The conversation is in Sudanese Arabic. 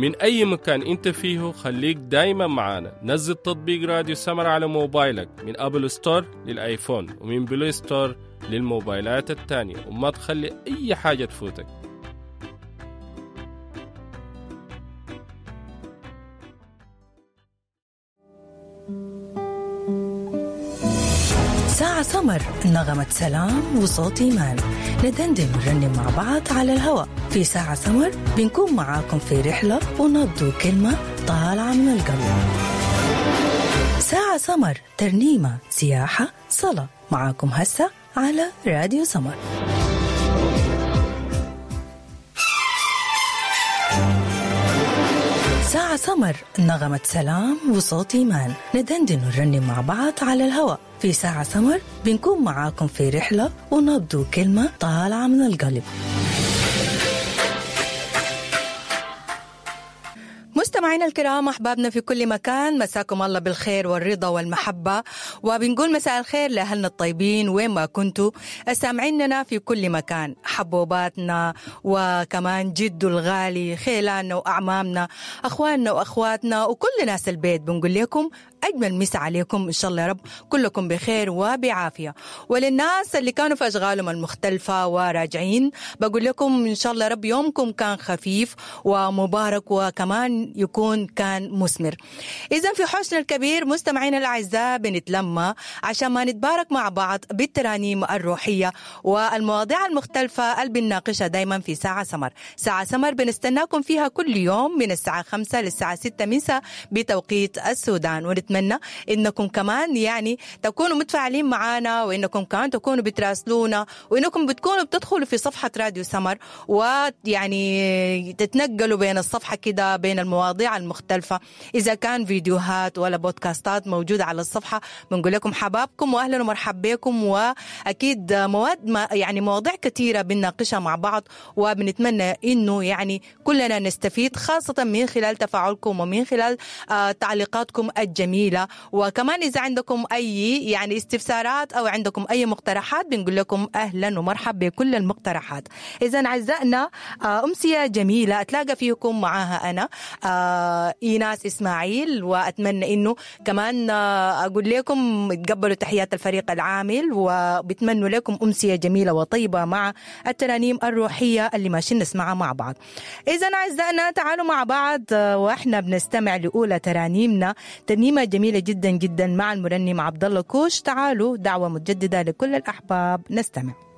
من أي مكان أنت فيه خليك دايما معانا. نزل تطبيق راديو سمر على موبايلك من Apple Store لل iPhone ومن Play Store للموبايلات التانية، وما تخلي أي حاجة تفوتك. ساعة سمر، نغمة سلام وصوت إيمان، ندندن ونرنم مع بعض على الهواء. في ساعة سمر بنكون معاكم في رحلة ونبض كلمة طالعة من القلب. ساعة سمر، ترنيمة، سياحة، صلاة، معاكم هسه على راديو سمر. ساعة سمر، نغمة سلام وصوت إيمان، ندندن ونرنم مع بعض على الهواء. في ساعة سمر بنكون معاكم في رحلة ونبض كلمة طالعة من القلب. مستمعينا الكرام، أحبابنا في كل مكان، مساكم الله بالخير والرضا والمحبة، وبنقول مساء الخير لأهلنا الطيبين وين ما كنتوا سامعيننا في كل مكان، حبوباتنا وكمان جدو الغالي، خيلاننا وأعمامنا، أخواننا وأخواتنا وكل ناس البيت. بنقول لكم أجمل مسا عليكم إن شاء الله يا رب كلكم بخير وبعافية. وللناس اللي كانوا في أشغالهم المختلفة وراجعين بقول لكم إن شاء الله يا رب يومكم كان خفيف ومبارك وكمان يكون كان مثمر. إذا في حوشنا الكبير مستمعينا الأعزاء بنتلمى عشان ما نتبارك مع بعض بالترانيم الروحية والمواضيع المختلفة اللي بنناقشها دايما في ساعة سمر. ساعة سمر بنستناكم فيها كل يوم من الساعة 5 للساعة 6 مساء بتوقيت السودان، ونتمنى إنكم كمان يعني تكونوا متفاعلين معنا، وإنكم كمان تكونوا بتراسلونا، وإنكم بتكونوا بتدخلوا في صفحة راديو سمر ويعني تتنقلوا بين الصفحة كده بين المواضيع المختلفة، إذا كان فيديوهات ولا بودكاستات موجودة على الصفحة. بنقول لكم حبابكم وأهلا ومرحبا بكم، وأكيد مواد ما يعني مواضيع كثيرة بنناقشها مع بعض، وبنتمنى إنه يعني كلنا نستفيد خاصة من خلال تفاعلكم ومن خلال تعليقاتكم الجميلة. وكمان إذا عندكم أي يعني استفسارات أو عندكم أي مقترحات بنقول لكم أهلا ومرحبا بكل المقترحات. إذا أعزائنا أمسية جميلة أتلاقى فيكم معاها أنا إيناس إسماعيل، وأتمنى إنه كمان أقول لكم تقبلوا تحيات الفريق العامل، وبتمنوا لكم أمسية جميلة وطيبة مع الترانيم الروحية اللي ماشيين نسمعها مع بعض. إذا أعزائنا تعالوا مع بعض وإحنا بنستمع لأولى ترانيمنا، ترنيمة جميلة جدا جدا مع المرنم عبد الله كوش. تعالوا، دعوة متجددة لكل الأحباب، نستمع.